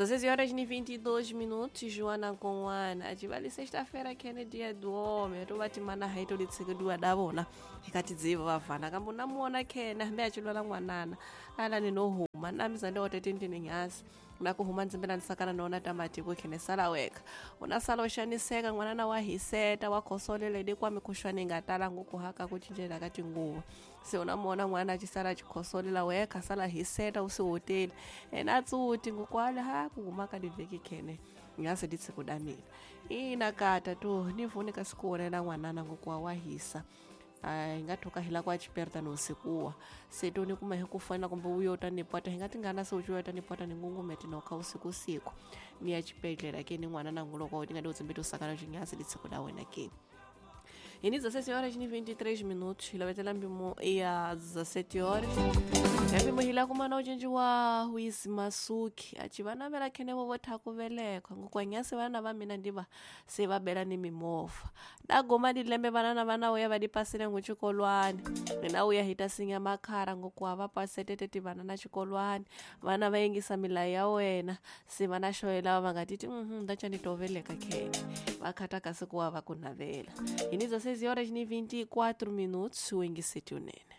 16 horas ni 22 minutos. Joana Konwana achivali sexta-feira kene dia do homem tovati mana haito litsekeduwa davona ikatidziva vavhana kambe unamuona khene hambe achilwala n'wanana ala ninohuma namiza ndiotete nyasi nakuhuma ndzimbela ndisakana noona tamatiko khene sala weka unasala uxaniseka n'wanana wa hiseta wa khosolele kwa mikhuxwani nga tala ngukuhaka ku cincela ka tinguva se unamuona n'wana acisala acikhosolela weka sala hiseta usihoteli ena atsuti ngukwale ha kuhuma ka livheki khene ngase ditsekudamile ina kata to nivuni ka sikuonela n'wanana ngukuwa wa hisa hi nga thoka hi la ku a chiperta no sikuwa se to ni kuma hi ku fana kumbe u yo ta ni pota hi nga tingana se u ta ni pota ni ngungumeti nokha usiku siku ni ya xibedhlele ke ni n'wana na nguloko ni nga ti utsimbi to sakana xinyasi litsiko la wena ke. Hi ni 17 horas ni 23 minutos, hi lovetela mpimo ya 17 horas ya mpimo hi la kuma na ucinci wa Wisi Masuki aci vana vela khene vo vo velekwa ngukwanyasi vana va mina ndiva se va bela ni mimovha dagoma dilembe vanana vana uya va dipasile ngu xikolwani mina uya hi ta sinya makhara ngukuwa va pasetete ti vana na xikolwani vana va yingisa milayo ya wena se vana xoyela va nga titi ndaca ni toveleka khene va khata kasi kuwa va ku navela. Hi ni 16 horas ni 24 minutos, u yingiseti unene.